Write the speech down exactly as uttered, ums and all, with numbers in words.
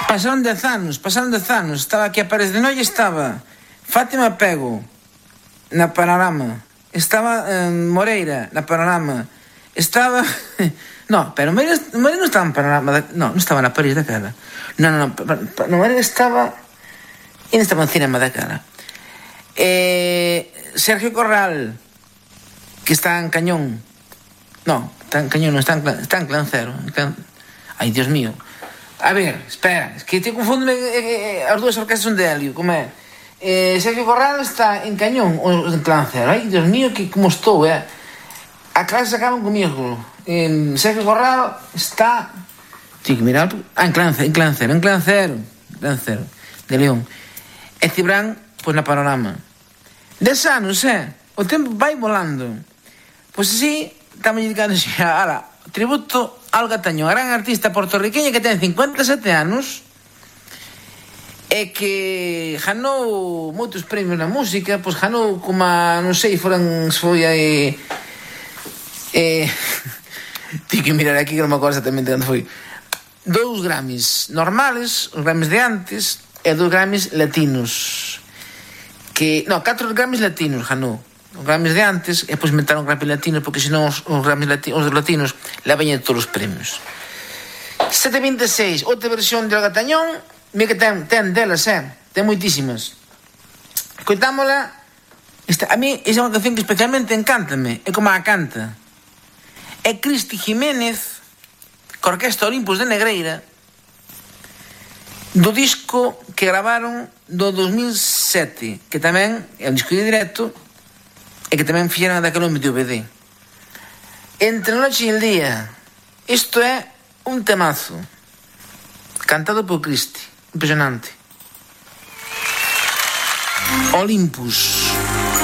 Pasaron dez anos, pasaron dez anos. Estaba aquí a Pérez de Noia, estaba Fátima Pego na Panorama, estaba eh, Moreira na Panorama, estaba... no, pero Moreira, Moreira non estaba en Panorama, da... no, non estaba na París daquela. Non, non, non, no, Moreira estaba... E non estaba en cinema daquela. Eh, Sergio Corral, que está en Cañón. No, está en Cañón, non está en, está en Clancero. En Clan... Ai, Dios mío. A ver, espera, es que te confundo eh, eh, as dúas orquestas son de Helio, como é? Eh, Sergio Corral está en Cañón ou en Clancero. Ai, Dios mío, que como estou, eh? A clase acaban comigo. Eh, Sergio Corral está... Tío, que mirar... Ah, en Clancero, en Clancero, en Clancero. Clancero, de León. E Cibrán, pois na Panorama. Des anos, eh? O tempo vai volando. Pois así, estamos dedicando a, ala, tributo a Olga Tañón, a gran artista portorriqueña que ten cincuenta e sete anos e que ganou moitos premios na música, pois ganou como a, non sei, foran, foi aí... Eh, Tio que mirar aquí que non me acordo exactamente onde foi. Dous Grammys normales, os Grammys de antes, e dous Grammys latinos. Que, no, catro Grammys latinos ganou. Os Grammys de antes, e depois metaron Grammy latinos, porque senón os, os Grammys latinos, os latinos levañan todos os premios. sete vinte e seis, outra versión de Olga Tañón, mira que ten, ten delas, eh? Ten moitísimas. Coitámola, esta, a mí esa é unha canción que especialmente encántame, é como a canta. É Cristi Jiménez, co Orquesta Olympus de Negreira, do disco que gravaron do dos mil sete, que tamén é un disco de directo, e que tamén fixeron daquele D V D. Entre a noche e el día. Isto é un temazo cantado por Cristi, impresionante. Olympus.